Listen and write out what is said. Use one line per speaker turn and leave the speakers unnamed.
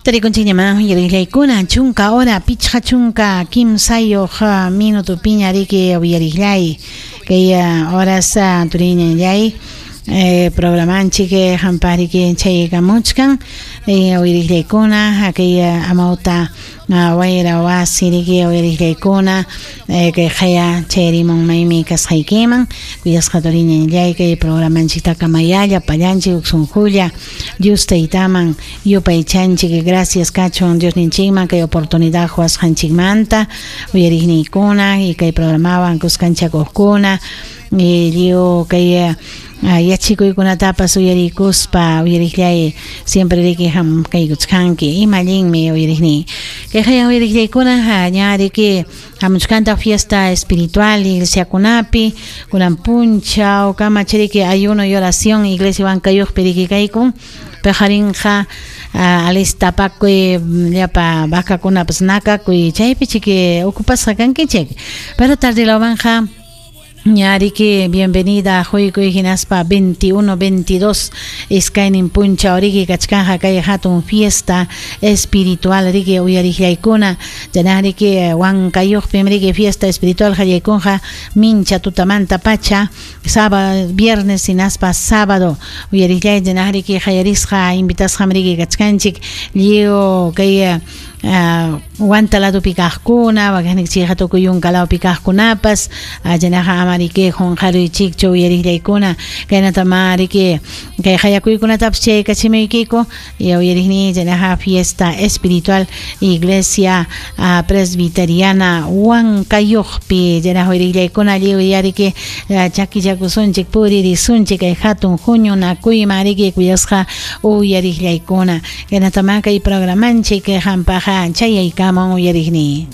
Tarikunchikñamá uyariqllaykuna chunka hora 53 minutopiña riki uyariqllay kay horas turiñallay programanchik qampaq riki chaykamuchkan uyariqllaykuna kay amawta wayra wasi riki uyariqllaykuna kay qaya chayarimun maymi kasqaykiman kuyasqa turiñallay kay programanchiktaka mayalla pallanchik huk sunqulla Dios taytaman yupaychanchik. Gracias kachun Diosninchikman kay oportunidad quwasqanchikmanta uyariqniykuna y kay programawan kuskanchakuqkuna lliw kay yachikuykunatapas uyarikuspa uyariqllay siempre riki hamkaykuchkanki ima allinmi uyariqniy kay qaya uyariqllaykuna ña riki hamuchkantaq fiesta espiritual iglesiakunapi kunan punchaw kamachiriki ayuno y oración iglesia Huancayuqpi riki kaykun paqarinqa alistapakuy llapa vacakunapas nakakuy chaypi chiki ocupasqa kankichik pero tardilawmanqa ña riki bienvenida quykuy hinaspa 21 22 iskaynin punchaw riki kachkanqa kay hatun fiesta espiritual riki uyariqllaykuna chaynaq riki Huancayuqpim riki fiesta espiritual qallaykunqa mincha tutamanta pacha sábado viernes hinaspa sábado uyariqllay chaynaq riki qayarisqa invitasqam riki kachkanchik lliw kay Huanta ladopi kaqkuna wakiqninchikqa tukuy yunka lawpi kaqkunapas chaynaqa ama riki qunqaruychikchu uyariqllaykuna kaynatama riki kay qayakuykunatapas chaykachimuykiku uyariqniy chaynaqa fiesta espiritual iglesia presbiteriana Huancayuqpi chaynaqa uyariqllaykuna lliw yariki chakichakusunchik puririsunchik kay hatun huñunakuyman riki kuyasqa uyariqllaykuna kaynatama kay programanchik qampaq chayaykamun uyariqniy.